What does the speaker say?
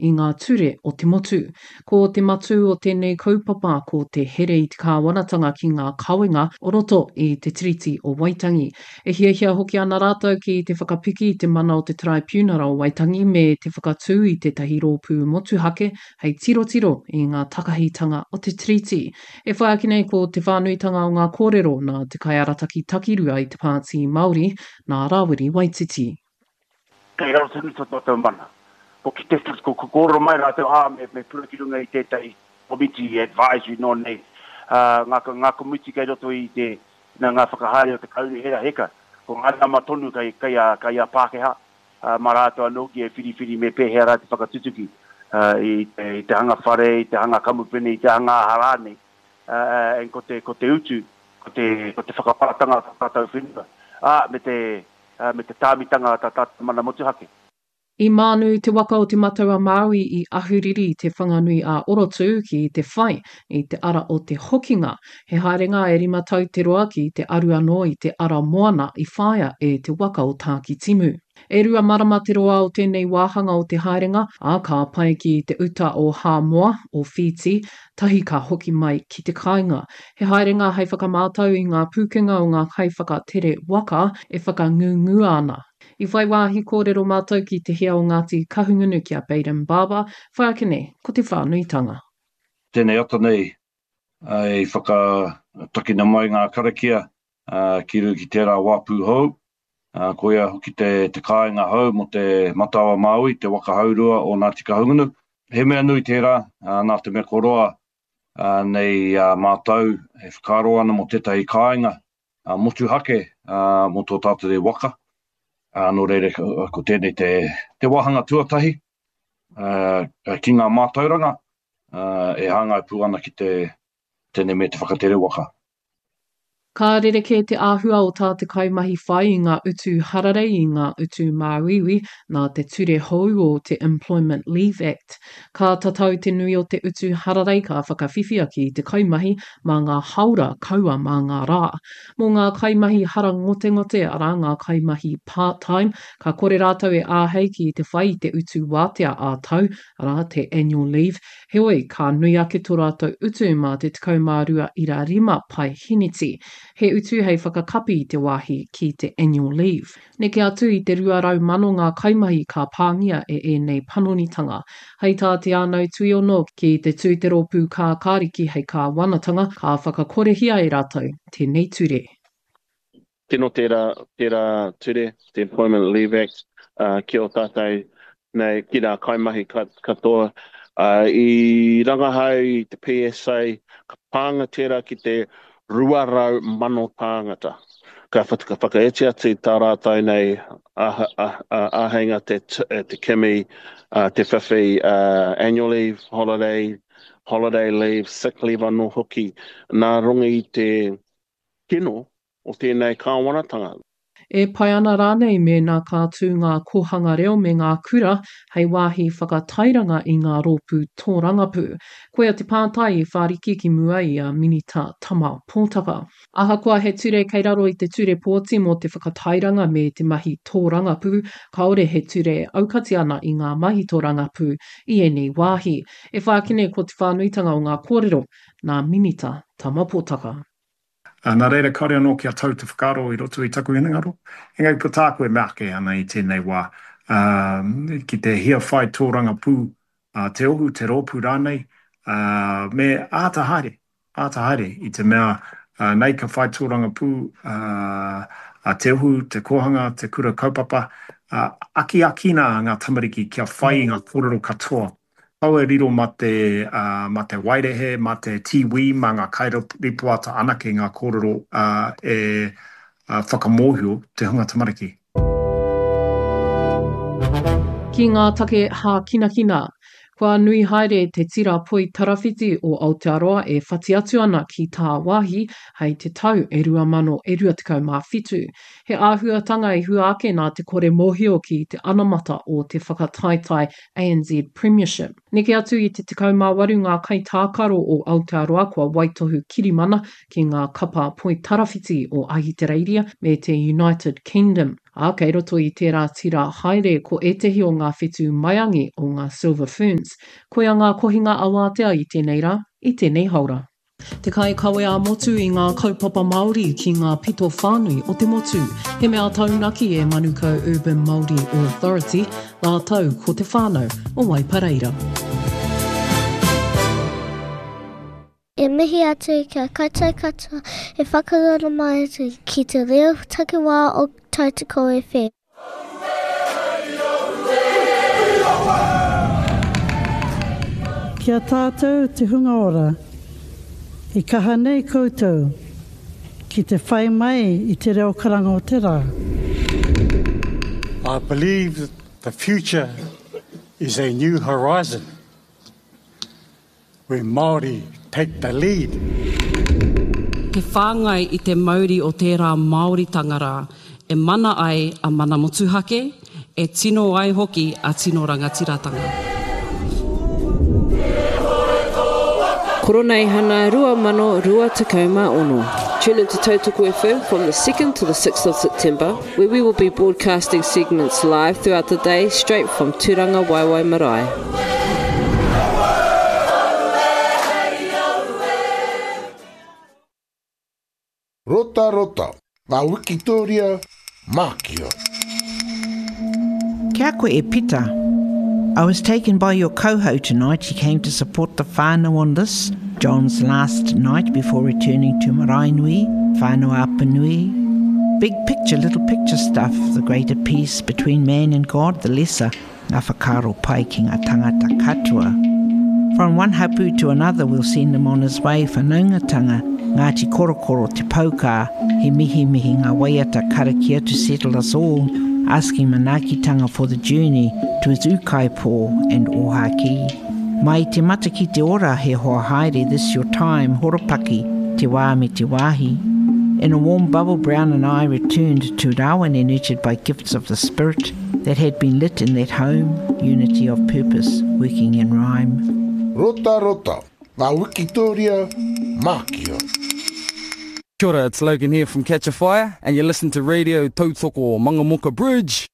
i ngā ture o te motu. Ko te matū o tēnei kaupapa ko te here i te kāwanatanga ki ngā kawenga o roto i te Tiriti o Waitangi. E hiahia hoki ana rātou ki te whakapiki i te mana o te Taraipiunara o Waitangi me te whakatū i tētahi rōpū motuhake hei tirotiro i ngā takahitanga o te Tiriti. E whai ake nei ko te whānuitanga o ngā kōrero nā te kaiarataki takirua i te Pāti Māori, nā Rāwiri Waititi. Kei raro tonu tō tātou mana. Ko kite, ko kōrero mai rātou, ā, me, me pura ki runga i tētahi komiti advisory nō nei, ā, ngā, ngā komiti kei roto i te, nā ngā whakahaere o te kaunihera heka, ko ngā nama tonu kei, kei a, kei a Pākehā, ā, mā rātou anō ki e whiriwhiri me pēhea rā te whakatutuki, ā, i te, i te hanga whare, i te hanga kamupene, i te hanga aha rānei, ā, and ko te, ko te utu, ko te, ko te whakaparatanga o tā tātou whenua, ā, me te, ā, me te tāmitanga o tā tātou mana motuhake. I mānu te waka o Te Matau-a-Māui i Ahuriri i Te Whanganui-ā-Orotū ki te whai i te ara o te hokinga. He haerenga e rima tau te roa ki te aru anō i te ara moana i whāia e te waka o Tākitimu. E rua marama te roa o tēnei wāhanga o te haerenga, ā, ka pae ki te uta o Hāmoa, o Whītī, tahi ka hoki mai ki te kāinga. He haerenga hei whakamātau i ngā pūkenga o ngā kaiwhakatere waka e whakangungua ana. I whai wāhi kōrero mātou ki te hea o Ngāti Kahungunu ki a Bayden Barber, whai ake nei ko te whānuitanga. Tēnei ata nei i whakatakina mai ngā karakia ki runga ki tērā wāpu hou, koia hoki te kāinga hou mō te Matau-a-Māui, te waka haurua o Ngāti Kahungunu. He mea nui tērā, nā te mea kua roa nei mātou e whakaaro ana mō tētahi kāinga motuhake mō tō tātou nei waka. Nō reira, ko tēnei te, te wāhanga tuatahi ki ngā mātauranga e hāngai pū ana ki te tēnei me te whakatere waka. Ka rerekē te āhua o tā te kaimahi whai i ngā utu hararei i ngā utu māuiui nā te ture hou o te Employment Leave Act. Ka tatau te nui o te utu hararei ka whakawhiwhia ki te kaimahi mā ngā haora kaua mā ngā rā. Mō ngā kaimahi harangotengote, arā ngā kaimahi part-time, ka kore rātou e āhei ki te whai i te utu wātea ā-tau, arā, te annual leave, Heoi, ka nui ake tō rātou utu mā te 12.5 paeheneti. He utu hei whakakapi i te wāhi ki te annual leave. Neke atu i te 200,000 ngā kaimahi ka pāngia e ēnei panonitanga. Hei tā Te Ānau Tuiono, ki te tū te rōpū kākāriki hei kāwanatanga, ka whakakorehia e rātou tēnei ture. Tino tērā, tērā ture, te Employment Leave Act, ki ō tātou nei, ki ngā kaimahi katoa. I rangahau i te PSA, ka pānga tērā ki te 200,000 tāngata. Ka whakaiti atu tā rātou nei āheinga te, te kimi, te whiwhi annual leave, holiday, holiday leave, sick leave anō hoki, nā runga i te kino o tēnei kāwanatanga. E pai ana rānei mēnā ka tū ngā kōhanga reo me ngā kura hei wāhi whakatairanga i ngā rōpū tōrangapū? Koia te pātai i whāriki ki mua i a Minita Tama Pōtaka. Ahakoa he ture kei raro i te Ture Pōti mō te whakatairanga me te mahi tōrangapū, kāore he ture e aukati ana i ngā mahi tōrangapū i ēnei wāhi. E whāki nei ko te whānuitanga o ngā kōrero nā Minita Tama Pōtaka. Ā, nā reira kāore anō kia tau te whakaaro i roto i taku hinengaro. Engari ko tāku e mea ake ana i tēnei wā, ā, ki te hia whai tōrangapū a te ohu, te rōpū rānei, ā, me āta haere, āta haere i te mea, ā, nei ka whai tōrangapū, ā, a te ohu, te kōhanga, te kura kaupapa, ā, akiakina ngā tamariki kia whai i ngā kōrero katoa Kaua e riro mā te, mā te waerehe, mā te tīwī, mā ngā kairipoata anake ngā kōrero e whakamōhio te hunga tamariki. Ki ngā take hākinakina, kua nui haere te tira poi tarawhiti o Aotearoa e whati atu ana ki tāwāhi hei te tau e 2027. He āhuatanga i hua ake nā te kore mōhio ki te anamata o te whakataetae ANZ Premiership. Neke atu i te 18 ngā kaitākaro o Aotearoa kua waitohu kirimana ki ngā kapa poitarawhiti o Ahitereiria me te United Kingdom. Ā, kei roto i tērā tira haere ko ētehi o ngā whetū maiangi o ngā Silver Ferns. Koia ngā kohinga awātea i tēnei rā, i tēnei haora. Te kaikawe ā-motu i ngā kaupapa Māori ki ngā pito whānui o te motu. He mea taunaki e Manukau Urban Māori Authority rātou ko te whānau o Waipareira. E mihi atu ki a koutou katoa e whakaroro mai ana ki te reo takiwā o Tautoko FM. Ki a tātou te hunga ora, i kaha nei koutou ki te whai mai i te reo karanga o te rā. I believe that the future is a new horizon. Where Māori take the lead. Te whāngai i te mauri o tērā Māoritanga rā e mana ai a mana motuhake, e tino ai hoki a tino rangatiratanga. Koroneihana 2026. Tune in to Tautoko FM from the 2nd to the 6th of September, where we will be broadcasting segments live throughout the day straight from Turanga Waiwai Marae. Rota rota, ngā wikitoria, mākia. Kia koe e Pita. I was taken by your coho tonight, he came to support the whānau on this, John's last night before returning to Maraenui, Whānau Apanui. Big picture, little picture stuff, the greater peace between man and God, the lesser, ngā whakaaro pai ki ngā tangata katoa. From one hapu to another we'll send him on his way whanaungatanga, Ngāti Korokoro, Te Poukā, he mihimihi ngā waiata karakia to settle us all, asking manaakitanga for the journey to his ūkaipō and ōhākī. Mai te mata ki te ora he hoa haere this your time horopaki, te wā me te wāhi. In a warm bubble Brown and I returned to Rawene nurtured by gifts of the spirit that had been lit in that home, unity of purpose, working in rhyme. Rota rota, ngā wikitoria, mākia. Kia ora, it's Logan here from Catch a Fire, and you listen to Radio Tautoko Mangamuka Bridge.